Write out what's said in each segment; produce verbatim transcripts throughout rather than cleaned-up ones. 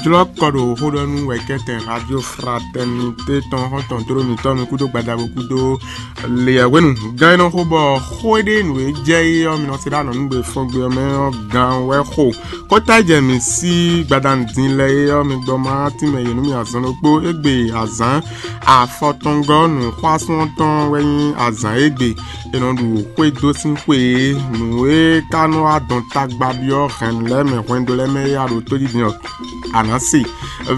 Jlɔ́ kɔ ɖo xó ɖɔ nú wɛ̌kɛ́tɛn Radio Fraternité tɔn xɔ́ntɔn dó ɖo mǐtɔn mi kúdó gbadabo kúdó leyɛhwenu gán e nɔ xo bɔ xó e ɖe nǔ e jɛ é ɔ́, mi nɔ se ɖó anɔ̌ nú gbe fɔ́n gbe ɔ́ mɛ ɔ́ gán wɛ xo. Kɔ́ta e jɛ mǐ sí gbadanu din lɛ́ɛ é ɔ́, mi gbɔ ma tínmɛ yě nú mì azɔn ɖokpó égbé azǎn afɔtɔngɔ́ nǔxwásún ɔ́ tɔn wɛ nyí azǎn égbé è nɔ ɖu xwé dó sín xwe e nǔ e ka nɔ wá dɔn tagba byɔ́ hɛ̌nnu lɛ́ɛ mɛ hwɛndo lɛ́ɛ mɛ é a ɖo tójijɛ ɔ́. A nǎ se.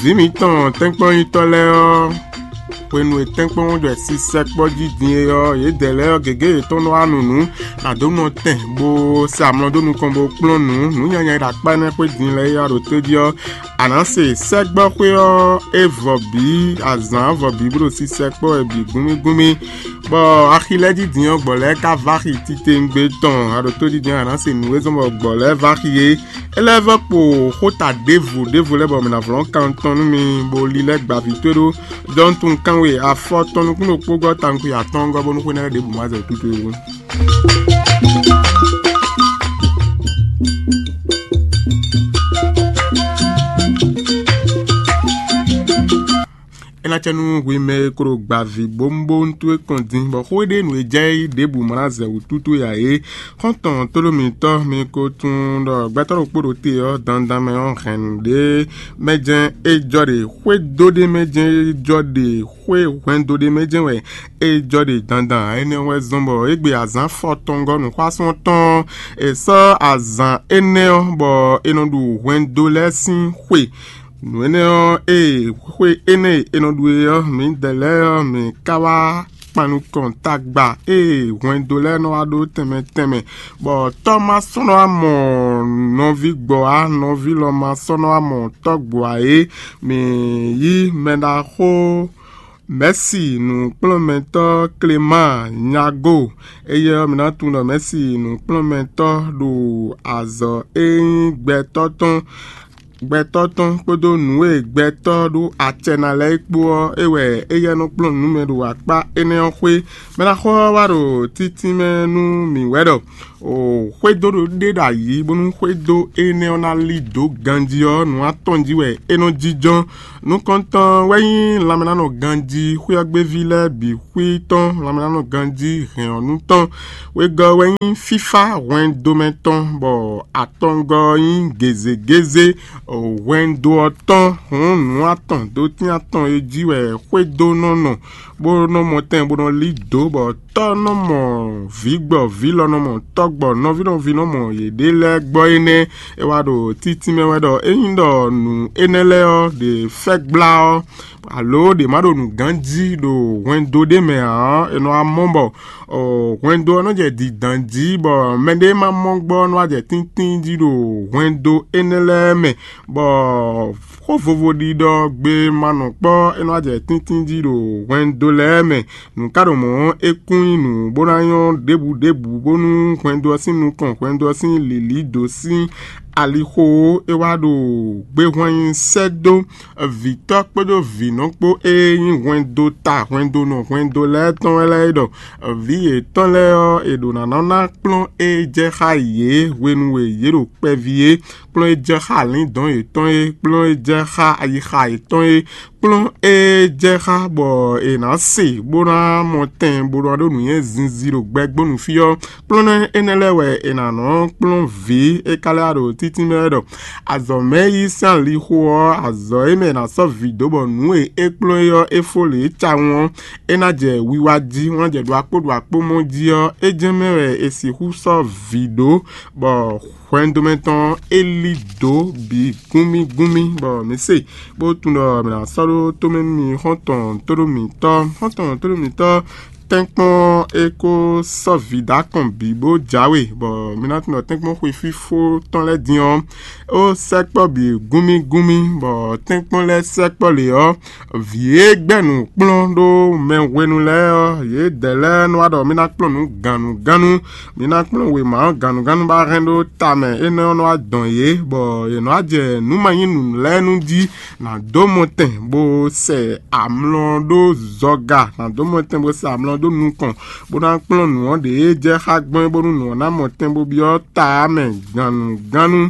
Vǐ mǐtɔn tɛ́nkpɔ́nyitɔ́ lɛ́ɛ ɔ́, hwenu e tɛ́nkpɔ́n jɔ sisɛkpɔ́ jí din é ɔ́, yědɛɛ lɛ́ɛ ɔ́, gěgé yětɔn nɔ wá nu nǔ, nǎ dó nɔ tɛn, bó sɛ amlɔ dó nukɔn, bó kplɔ́n nǔ. Nǔ nyanya e ɖo akpá énɛ́ xwé din lɛ́ɛ é a ɖo tójí ɔ́, a nǎ se sɛ́gbɔ́xwé ɔ́ é vɔ bǐ, azǎn vɔ bǐ bó ɖo sisɛkpɔ́ wɛ bǐ gúmígúmí, bɔ axi lɛ́ɛ jí din ɔ́, gbɔ̌ lɛ́ɛ ka vá xi titewungbe tɔn. A ɖo tójí din ɔ́, a nǎ se nǔ e zɔ́n bɔ gbɔ̌ lɛ́ɛ vá xi é. É lɛ́ vɔ́ kpo xóta ɖěvo ɖěvo lɛ́ɛ bɔ mǐ ná vlɔ́n kan tɔn nú mi, bó lílɛ́ gbavǐ towe ɖó dɔntunkan we afɔ tɔn nukún ɖokpó gɔ́ tankwi atɔ́ɔ́ngɔ́ bónú xwé ná lɛ́ ɖěbǔ ma zɛ wǔtútú é wú. É ná cɛ nú hwi mɛ e klo gba vǐ bónúbónú towe kɔn din, bɔ xó e ɖe nǔ e jɛ é ɖěbǔ ma ná zɛ wǔtútú ya é. Xɔ́ntɔn tóɖó mǐtɔn mi ko tunwun ɖɔ gbɛtɔ́ ɖokpó ɖo te ɔ́, dandan mɛ ɔ́, hɛn nǔ ɖé mɛ jɛ́n é jɔ ɖe, xwédo ɖé mɛ jɛ́n é jɔ ɖe, xwé hwɛndo ɖé mɛ jɛ́n wɛ é jɔ ɖe dandan. Énɛ́ wɛ zɔ́n bɔ égbé azǎn fɔtɔngɔ́ nǔxwásún tɔn ɔ́, è sɔ́ azǎn énɛ́ ɔ́ bɔ è nɔ ɖu hwɛndo lɛ́ɛ sín xwe. Nǔ énɛ́ ɔ́, ée xwe énɛ́ e è nɔ ɖu é ɔ́, mǐdɛɛ lɛ́ɛ ɔ́, mǐ ka wá kpan nukɔn tagba ée hwɛndo lɛ́ɛ nɔ wá ɖó tɛnmɛ tɛnmɛ, bɔ tɔ́ ma sɔ́ nɔ wá mɔ nɔví gbɔ ǎ, nɔví lɔ ma sɔ́ nɔ wá mɔ tɔ́ gbɔ ǎ é. Mǐ yí mɛɖaxó Mɛ̌si nǔkplɔ́nmɛtɔ́ Klemáan Nyago. Éyɛ́ ɔ́, mi ná tunwun ɖɔ Mɛ̌si nǔkplɔ́nmɛtɔ́ ɖo azɔ̌ e nyí gbɛtɔ́ tɔn gbɛtɔ́ tɔn kpódó nǔ e gbɛtɔ́ ɖó acɛ ná lɛ́ɛ é kpó ɔ́, é wɛ éyɛ́ nɔ kplɔ́n nǔ mɛ ɖo akpá énɛ́ ɔ́ xwé. Mɛ ná xɔ ɔ́ wá ɖo títínmɛ nú mǐ wɛ ɖɔ xwédo ɖé ɖo ayǐ, bónú xwédo énɛ́ ɔ́ ná lí dǒ ganjí ɔ́, nǔ atɔn jí wɛ é nɔ jínjɔ́n. Nukɔntɔn wɛ nyí lanmɛnánɔ ganjí xwé ɔ́ gbéví lɛ́ɛ bǐ xwí tɔn, lanmɛnánɔ ganjí hɛn ɔ́ nú tɔn. Wegɔ́ wɛ nyí fífá hwɛndo mɛ tɔn, bɔ atɔngɔ́ ɔ́ nyí gězégézé hwɛndo ɔ́ tɔn. Hǔn nǔ atɔn dó tín atɔn e jí wɛ xwédo nɔ nɔ, bó nɔ mɔ tɛn bó nɔ lí dǒ, bɔ tɔ́ nɔ mɔ vǐ gbɔ, vǐ lɔ nɔ mɔ tɔ́ gbɔ, nɔví nɔví nɔ mɔ yěɖée lɛ́ɛ gbɔ énɛ́. É wá ɖo títínmɛ wɛ ɖɔ ényí ɖɔ nǔ énɛ́ lɛ́ɛ ɔ́ ɖě fɛ́ gbla ɔ́, alo ɖě ma ɖo nǔgán jí ɖo hwɛndo ɖé mɛ ǎ ɔ́, è nɔ wá mɔ bɔ hwɛndo ɔ́ nɔ jɛ dǐndán jí, bɔ mɛɖé ma mɔ gbɔ nɔ wá jɛ tíntín jí ɖo hwɛndo énɛ́ lɛ́ɛ mɛ, bɔ xó vovo ɖiɖɔ gbe ma nɔ kpɔ́, é nɔ wá jɛ tíntín jí ɖo hwɛndo lɛ́ɛ mɛ. Nǔ ka ɖo mɔ̌ ɔ́, é kún nyí nǔ bó ná nyɔ́ ɖěbǔ ɖěbǔ, bónú hwɛndo ɔ́ sín nukɔn, hwɛndo ɔ́ sín lǐlí dó sín alixo ó. É wá ɖo gbéhwan nyi sɛ́ dó vǐtɔ́ kpódó vǐnɔ kpó e nyí hwɛndo ta, hwɛndo nɔ, hwɛndo lɛ́ɛ tɔn wɛ lɛ́ɛ é ɖɔ vǐ yětɔn lɛ́ɛ ɔ́, è ɖǒ ná nɔ ná kplɔ́n e jɛ xá yě hwenu e yě ɖo kpɛví é, kplɔ́n e jɛ xá alǐndɔ̌n yětɔn é, kplɔ́n e jɛ xá ayixa yětɔn é, kplɔ́n e jɛ xá bɔ è nǎ se bó ná mɔ tɛn bó ná ɖó nǔnywɛ́ zinzin ɖo gbɛgbónu fí ɔ́, kplɔ́n énɛ́ lɛ́ɛ wɛ è nǎ nɔ kplɔ́n vǐ e ka lɛ́ wá ɖo títínmɛ wɛ ɖɔ azɔ̌ mɛ yí sín alixo ɔ́, azɔ̌ e mɛ è nǎ sɔ́ vǐ dó bɔ nǔ e é kplɔ́n é ɔ́ é fó lě tawun ɔ́, é ná jɛ wiwa jí, wọ́n ná jɛ ɖo akpó ɖo akpó mɔ jí ɔ́, é jɛ́n mɛ wɛ è sixú sɔ́ vǐ ɖó, bɔ hwɛndo mɛ tɔn é lí dǒ bǐ gúnmí gúnmí, bɔ mǐ se bó tunwun ɖɔ mǐ ná sɔ́ ɖó tomɛ nú mi xɔ́ntɔn tóɖó mǐtɔn, xɔ́ntɔn tóɖó mǐtɔn tɛ́nkpɔ́n é kó sɔ́ vǐ dó akɔn bǐ bó jǎwe, bɔ mǐ ná tunwun ɖɔ tɛ́nkpɔ́n xwe fífó tɔn lɛ́ɛ din ɔ́, ó sɛkpɔ́ bǐ gúnmí gúnmí, bɔ tɛ́nkpɔ́n lɛ́ɛ sɛkpɔ́ lě ɔ́, vǐ e gbɛ́ nǔ kplɔ́n ɖó mɛ hwenu lɛ́ɛ ɔ́, yědɛɛ lɛ́ɛ nɔ wá ɖɔ mì ná kplɔ́n nǔ gannugánnu, mì ná kplɔ́n wěma ɔ́ gannugánnu bá hɛn ɖó ta mɛ. Énɛ́ ɔ́ nɔ wá dɔn yě, bɔ yě nɔ wá jɛ nǔ ma nyí nǔ lɛ́ɛ nu jí, nǎ dó mɔtɛn bó sɛ amlɔ ɖó zɔga, nǎ dó mɔtɛn bó sɛ amlɔ ɖó nukɔn, bó ná kplɔ́n nǔ ɔ́ ɖě jɛ xá gbɔn é, bónú nǔ ɔ́ ná mɔ tɛn bó byɔ́ ta ɔ́ mɛ gannugánnu.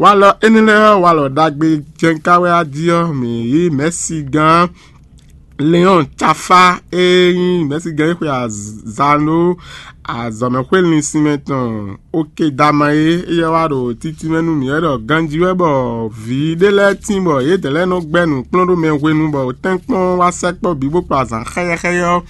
Walɔ énɛ́ lɛ́ɛ ɔ́, walɔ ɖagbe jɛnká wɛ á jí ɔ́, mǐ yí mɛ̌sigán Leɔn Cafá e nyí mɛ̌sigán e xwe azǎn ɖó azɔ̌mɛxwé linsin mɛ tɔn Okedama é, éyɛ́ wá ɖo títí mɛ nú mǐ wɛ ɖɔ ganjí wɛ bɔ vǐ ɖé lɛ́ɛ tín bɔ yědɛɛ lɛ́ɛ nɔ gbɛ́ nǔ kplɔ́n ɖó mɛ hwenu bɔ tɛ́nkpɔ́n wá sɛkpɔ́ bǐ bó kpa azǎn xɛ́yɛ́xɛ́yɛ́ ɔ́,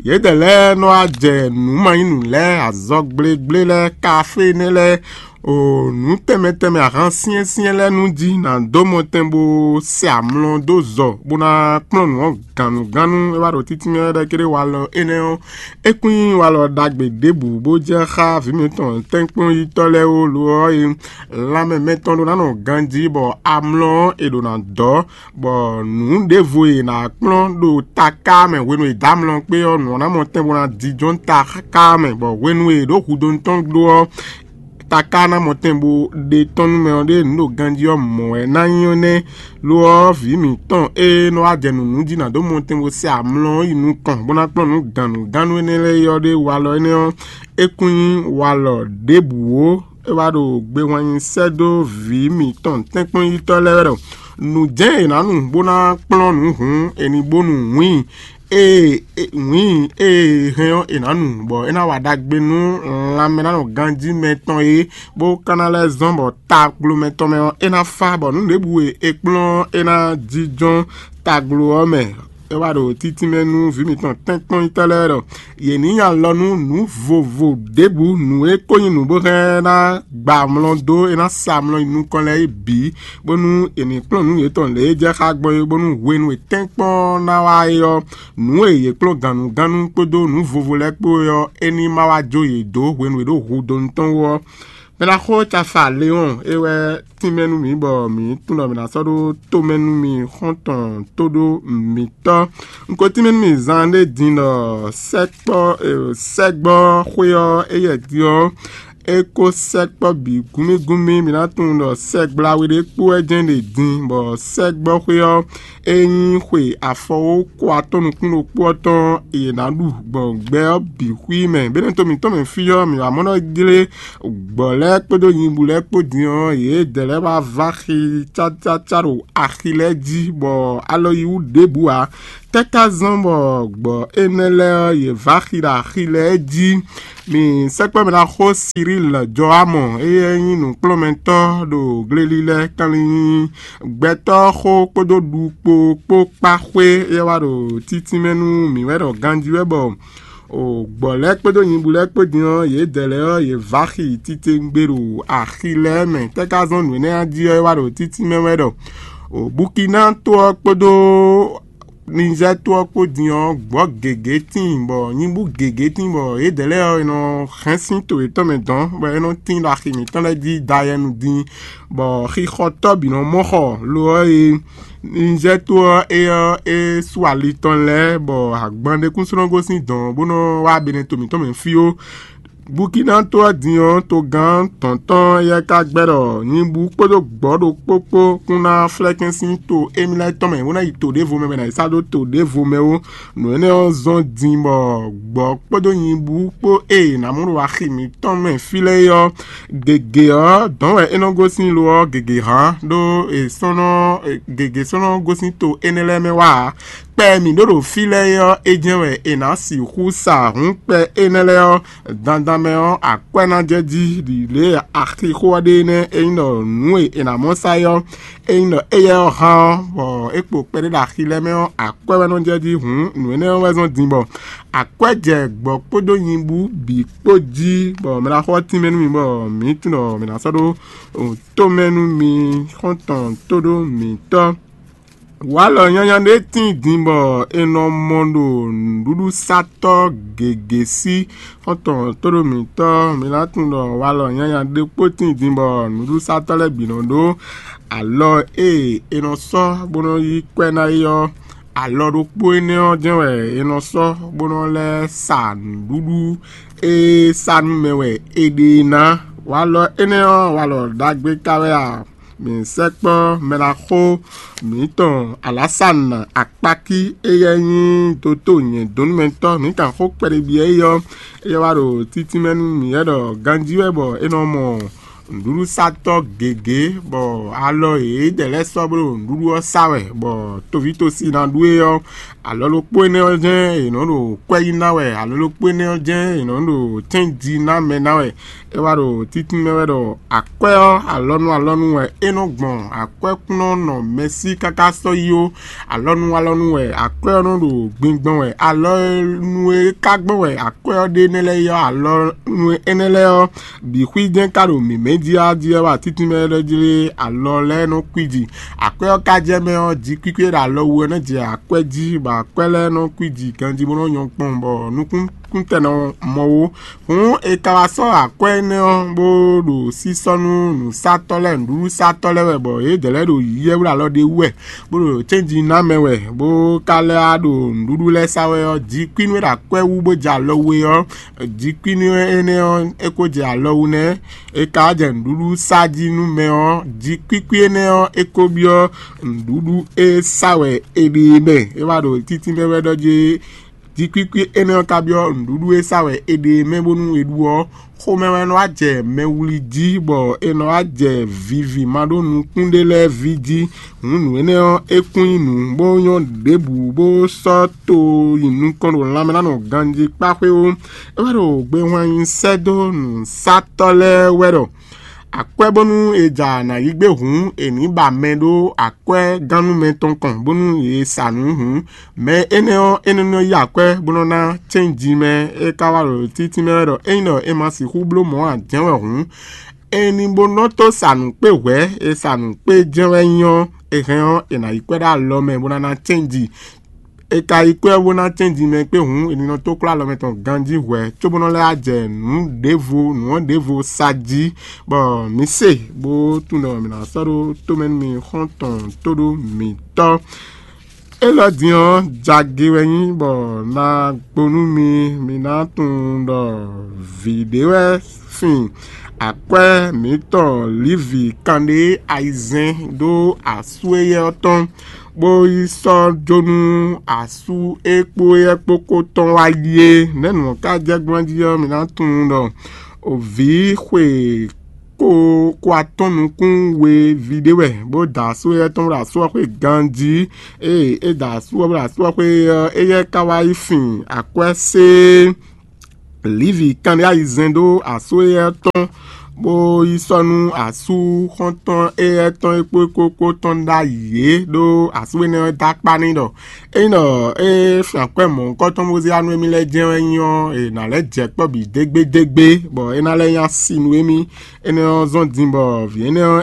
yědɛɛ lɛ́ɛ nɔ wá jɛ nǔ ma nyí nǔ lɛ́ɛ, azɔgblégblé lɛ́ɛ, kafénɛ́ lɛ́ɛ, o nǔ tɛnmɛ tɛnmɛ ahan syɛ́nsyɛ́n lɛ́ɛ nú jí ná dó mɔtɛn bó sɛ amlɔ dó zɔ bó ná kplɔ́n nǔ ɔ́ gannugánnu. É wá ɖo títí mɛ ɖɛ̌ kéré walɔ énɛ́ ɔ́, é kún nyí walɔ ɖagbe ɖěbǔ bó jɛ xá vǐ mǐtɔn tɛ́nkpɔ́nyítɔ́ lɛ́ɛ ó. Lo ɔ́, é lanmɛ mɛtɔn ɖó ná nɔ ganjí bɔ amlɔ ɔ́ è ɖǒ ná dɔ́, bɔ nǔ ɖěvo e è nǎ kplɔ́n ɖo taká mɛ hwenu e è dǒ amlɔ kpé ɔ́, nǔ ɔ́ ná mɔ tɛn bó ná jínjɔ́n taká mɛ, bɔ hwenu e è ɖǒ hudonu tɔn ɖó ɔ́, taká ná mɔ tɛn bó ɖe tɔn nú mɛ ɔ́ ɖe nǔ ɖo ganjí ɔ́ mɔ̌ wɛ ná nyí ɔ́ nɛ́. Lo ɔ́, vǐ mǐtɔn e nɔ wá jɛ nǔ nú jí ná dó mɔ tɛn bó sɛ amlɔ ɔ́ yi nukɔn bó ná kplɔ́n nǔ gannugánnu énɛ́ lɛ́ɛ yi ɔ́ ɖé walɔ énɛ́ ɔ́, é kún nyí walɔ ɖěbǔ ó. É wá ɖo gbe wɛn nyi sɛ́ dó vǐ mǐtɔn tɛ́nkpɔ́nyítɔ́ lɛ́ɛ wɛ ɖɔ nǔ jɛ́n è nǎ nu bó ná kplɔ́n nǔ hǔn è ní bó nu wǐin e wǐin e è hɛn ɔ́ è nǎ nu, bɔ é ná wa ɖagbe nú lanmɛ ná nɔ ganjí mɛ tɔn é, bó ka ná lɛ́ zɔ́n bɔ tagblomɛ tɔn mɛ ɔ́ é ná fá, bɔ nǔ ɖěbǔ e è kplɔ́n ɔ́ é ná jínjɔ́n taglo ɔ́ mɛ. É wá ɖo títí mɛ nú vǐ mǐtɔn tɛ́nkpɔ́nyítɔ́ lɛ́ɛ ɖɔ yě ní nyi alɔ nú nǔ vovo ɖěbǔ, nǔ e ko nyí nǔ bó hɛn ná gba amlɔ dó, é ná sa amlɔ nyi nukɔn lɛ́ɛ é bǐ, bónú è nǐ kplɔ́n nǔ yětɔn lě e jɛ xá gbɔn é, bónú hwenu e tɛ́nkpɔ́n ná wá é ɔ́, nǔ e yě kplɔ́n gannugánnu kpódó nǔ vovo lɛ́ɛ kpó é ɔ́, é ní ma wá jó yě dó hwenu e è ɖǒ hudonu tɔn wú ɔ́. Mɛ ná xó Cafa Leɔn é wɛ tínmɛ nú mǐ bɔ mǐ tunwun ɖɔ mǐ ná sɔ́ ɖó tomɛ nú mi xɔ́ntɔn tóɖó mǐtɔn. Un ko tínmɛ nú mi zan ɖé din ɖɔ sɛkpɔ́ sɛgbɔ́ xwé ɔ́ éyɛ́ din ɔ́, é kó sɛkpɔ́ bǐ gúmígúmí. Mi ná tunwun ɖɔ sɛgbla we ɖé kpó wɛ jɛ́n ɖe din, bɔ sɛgbɔ́ xwé ɔ́ é nyí xwe afɔwókɔ atɔ́ nukún ɖokpó ɔ́ tɔn è nǎ ɖu gbɔn gbɛ ɔ́ bǐ xwí mɛ. Běnɛ́ to mǐtɔn mɛ fí ɔ́, mǐ wǎ mɔ ɖɔ jlé gbɔ̌ lɛ́ɛ kpódó nyibú lɛ́ɛ kpó din ɔ́, yědɛɛ lɛ́ɛ wá vá xi cácácá ɖo axi lɛ́ɛ jí, bɔ alɔ yi wú ɖěbǔ ǎ. Tɛ́ ka zɔ́n bɔ gbɔ̌ énɛ́ lɛ́ɛ ɔ́, yě vá xi ɖo axi lɛ́ɛ jí? Mi sɛkpɔ́ mɛ ná xó Siríl Jɔámɔ, éyɛ́ nyí nǔkplɔ́nmɛtɔ́ ɖo glelilɛ kanlin gbɛtɔ́ xó kpódó ɖukpo kpó kpá xwé, éyɛ́ wá ɖo títínmɛ nú mǐ wɛ ɖɔ ganjí wɛ bɔ o gbɔ̌ lɛ́ɛ kpódó nyibú lɛ́ɛ kpó din ɔ́, yědɛɛ lɛ́ɛ ɔ́, yě vá xi titewungbe ɖo axi lɛ́ɛ mɛ. Tɛ́ ka zɔ́n nǔ énɛ́ ɔ́ jí ɔ́, é wá ɖo títínmɛ wɛ ɖɔ o Bukina to ɔ́ kpódó Nizɛ́ɛ to ɔ́ kpó din ɔ́, gbɔ̌ gěgé tíin, bɔ nyibú gěgé tíin, bɔ yědɛɛ lɛ́ɛ ɔ́, è nɔ hɛn sín to yětɔn mɛ dɔn, bɔ é nɔ tín ɖo axi mǐtɔn lɛ́ɛ jí dayɛnu din, bɔ xixɔtɔ́ bǐ nɔ mɔ xɔ. Lo ɔ́, e Nizɛ́ɛ to ɔ́, é ɔ́, é sú ali tɔn lɛ́ɛ, bɔ agban ɖé kún sɔ́ nɔ gosín dɔ̌n bó nɔ wá Benɛto mǐtɔn mɛ fí ó. Bukina to ɔ́ din ɔ́, togán tɔ̌ntɔn éyɛ́ ka gbɛ́ ɖɔ nyibú kpódó gbɔ̌ ɖokpó kpó kún ná flɛ́kɛ́n sín to émí lɛ́ɛ tɔn mɛ, bó ná yi to ɖěvo mɛ, bɔ è nǎ yi sá ɖó to ɖěvo mɛ ó. Nǔ énɛ́ ɔ́ zɔ́n din bɔ gbɔ̌ kpódó nyibú kpó e è nǎ mɔ ɖo axi mǐtɔn mɛ fí lɛ́ɛ é ɔ́, gěgé ɔ́ dɔ̌n wɛ é nɔ gosín lo ɔ́, gěgé hán ɖó è sɔ́ nɔ gěgé sɔ́ nɔ gosín to énɛ́ lɛ́ɛ mɛ wá ǎ. Kpɛ e mǐ ɖó ɖo fí lɛ́ɛ é ɔ́, é jɛ́n wɛ è nǎ sixú sa hǔn kpɛ énɛ́ lɛ́ɛ ɔ́ dandan mɛ ɔ́, akwɛ́ ná jɛ jí ɖi lě e axixo ɔ́ ɖe nɛ́. Ényí ɖɔ nǔ e è nǎ mɔ sa é ɔ́, ényí ɖɔ éyɛ́ ɔ́ hán ɔ́, bɔ é kpo kpɛɖé ɖo axi lɛ́ɛ mɛ ɔ́, akwɛ́ wɛ nɔ jɛ jí hǔn, nǔ énɛ́ ɔ́ wɛ zɔ́n din bɔ akwɛ́ jɛ gbɔ̌ kpódó nyibú bǐ kpó jí, bɔ mɛ ná xɔ tínmɛ nú mi, bɔ mǐ tunwun ɖɔ mǐ ná sɔ́ ɖó tomɛ nú mi xɔ́ntɔn tóɖó mǐtɔn. Walɔ nyanya ɖé tíin din bɔ è nɔ mɔ ɖo nǔɖuɖusatɔ́ gěgé sí. Xɔ́ntɔn tóɖó mǐtɔn, mi ná tunwun ɖɔ walɔ nyanya ɖé kpó tíin din bɔ nǔɖuɖusatɔ́ lɛ́ɛ bǐ nɔ ɖó alɔ e è nɔ sɔ́ bó nɔ yí kwɛ́ ná é ɔ́, alɔ ɖokpó énɛ́ ɔ́ jɛ́n wɛ è nɔ sɔ́ bó nɔ lɛ́ sa nǔɖuɖu e sa nú mɛ wɛ è ɖe e ná. Walɔ énɛ́ ɔ́, walɔ ɖagbe ka wɛ a? mǐ sɛkpɔ́ mɛɖaxó mǐtɔn Alásana Akpákí, éyɛ́ nyí doto nyɛ̌dónúmɛtɔ́, mǐ kan xó kpɛɖébyɔ́ éyɔ́. Éyɛ́ wá ɖo títínmɛ nú mǐ wɛ ɖɔ ganjí wɛ bɔ é nɔ mɔ nǔɖuɖusatɔ́ gěgé, bɔ alɔ yědɛɛ lɛ́ɛ sɔ́ bló nǔɖuɖu ɔ́ sa wɛ, bɔ toví tosi ná ɖu é ɔ́, alɔ ɖokpó énɛ́ ɔ́ jɛ́n è nɔ́ ɖo kwɛ́ yí ná wɛ, alɔ ɖokpó énɛ́ ɔ́ jɛ́n è nɔ́ ɖo tɛ́nji ná mɛ ná wɛ. É wá ɖo títínmɛ wɛ ɖɔ akwɛ́ ɔ́, alɔnu alɔnu wɛ é nɔ́ gbɔn, akwɛ́ kún nɔ nɔ mɛ sí káká sɔ́ yi ó. Alɔnu alɔnu wɛ akwɛ́ ɔ́ nɔ ɖo gbingbɔn wɛ, alɔnu e ka gbɔn wɛ akwɛ́ ɔ́ ɖe énɛ́ lɛ́ɛ yi ɔ́, alɔnu énɛ́ lɛ́ɛ ɔ́ bǐ xwí jɛ́n ka ɖo mǐmɛ́ jí á jí wɛ wá títínmɛ lɛ́ɛ jlé alɔ lɛ́ɛ nɔ kwíji. Akwɛ́ ɔ́ ka jɛ mɛ ɔ́, ji kwíkwí e ɖo alɔ wú ɔ́ nɔ jɛ akwɛ́ jí, bɔ akwɛ́ lɛ́ɛ nɔ kwíji ganjí bó nɔ nyɔ́ kpɔ́n, bɔ nukúnkúntɛn nɔ mɔ ó. Hǔn è ka wá sɔ́ akwɛ́ énɛ́ ɔ́ bó ɖo sísɔ́ nú nǔsatɔ́ lɛ́ɛ, nǔɖuɖusatɔ́ lɛ́ɛ wɛ, bɔ yědɛɛ lɛ́ɛ ɖo yiyɛ́ wlí alɔ ɖé wú wɛ, bó ɖo cɛ́nji ná mɛ wɛ, bó ka lɛ́ wá ɖo nǔɖuɖu lɛ́ɛ sa wɛ ɔ́, ji kwín nú é ɖo akwɛ́ wú bó jɛ alɔ we ɔ́, ji kwín nú énɛ́ ɔ́, é ko jɛ alɔ wú nɛ́. È ka wá jɛ nǔɖuɖu sa jí nú mɛ ɔ́, ji kwíkwí énɛ́ ɔ́, é ko byɔ́ nǔɖuɖu e sa wɛ è ɖe é mɛ. É wá ɖo títínmɛ wɛ ɖɔ jí, ji kwíkwí énɛ́ ɔ́ ka byɔ́ nǔɖuɖu e sa wɛ è ɖe é mɛ bónú è ɖu ɔ́, xomɛ wɛ nɔ wá jɛ mɛ wlí jí, bɔ è nɔ wá jɛ vivi ma ɖó nukún ɖé lɛ́ɛ ví jí. Hǔn nǔ énɛ́ ɔ́, é kún nyí nǔ bó nyɔ́ ɖěbǔ bó sɔ́ to nyi nukɔn ɖo lanmɛ ná nɔ ganjí kpá xwé ó. É wá ɖo gbe hwan nyi sɛ́ dó nǔsatɔ́ lɛ́ɛ wɛ ɖɔ akwɛ́ bónú è ja nǎ yí gbé hǔn, è nǐ ba mɛ ɖó akwɛ́ gannú mɛtɔn kɔn bónú yě sa nǔ hǔn. Mɛ énɛ́ ɔ́, é nɔ nɔ yí akwɛ́ bó nɔ́ ná cɛ́nji mɛ. É ka wá ɖo títínmɛ wɛ ɖɔ ényí ɖɔ è ma sixú bló mɔ̌ ǎ jɛ́n wɛ hǔn, è nǐ bó nɔ́ tó sa nǔ kpé hwɛ̌, è sa nǔ kpé jɛ́n wɛ nyí ɔ́, è hɛn ɔ́, è nǎ yí kwɛ́ ɖó alɔ mɛ bó ná ná cɛ́nji. È ka yí kwɛ́ bó ná cɛ́nji mɛ kpé hǔn, è nǐ nɔ tó klɔ́ alɔ mɛ tɔn ganjí hwɛ̌, cóbónɔ lɛ́ wá jɛ nǔ ɖěvo, nǔ ɔ́ ɖěvo sa jí, bɔ mǐ se bó tunwun ɖɔ mǐ ná sɔ́ ɖó tomɛ nú mi xɔ́ntɔn tóɖó mǐtɔn. Élɔ́ din ɔ́, jagbe wɛ nyí bɔ ná gbo nú mi, mi ná tunwun ɖɔ vǐ ɖé wɛ fin akwɛ́ mǐtɔn Livi kanɖé ayizɛ́n dó asú éyɛ́ ɔ́ tɔn, bó yi sɔ́ jó nú asú e kpó éyɛ́ kpó kó tɔn wá yi é. Nɛ̌ nǔ ɔ́ ka jɛ gbɔn jí ɔ́, mi ná tunwun ɖɔ vǐ xwe ko ko atɔ́n nukún we ví ɖé wɛ, bó da asú éyɛ́ tɔn bó ɖo asú ɔ́ xwé ganjí. Ée é da asú ɔ́ bó ɖo asú ɔ́ xwé ɔ́, éyɛ́ ka wá yi fin akwɛ́ sé Livi kanɖé ayizɛ́n ɖó asú éyɛ́ tɔn, bó yi sɔ́ nú asú xɔ́ntɔn éyɛ́ tɔn e kpó kókó tɔn ɖ'ayǐ é, ɖó asú énɛ́ ɔ́ dó akpá n'i ɖɔ ényí ɖɔ é fin akwɛ́ mɔ̌hunkɔtɔn bó zé wá nú émí lɛ́ɛ jɛ́n wɛ nyí ɔ́, è nǎ lɛ́ jɛ kpɔ́ bǐ dégbédégbé, bɔ é ná lɛ́ nyí asi nú émí. Énɛ́ ɔ́ zɔ́n din bɔ vǐ énɛ́ ɔ́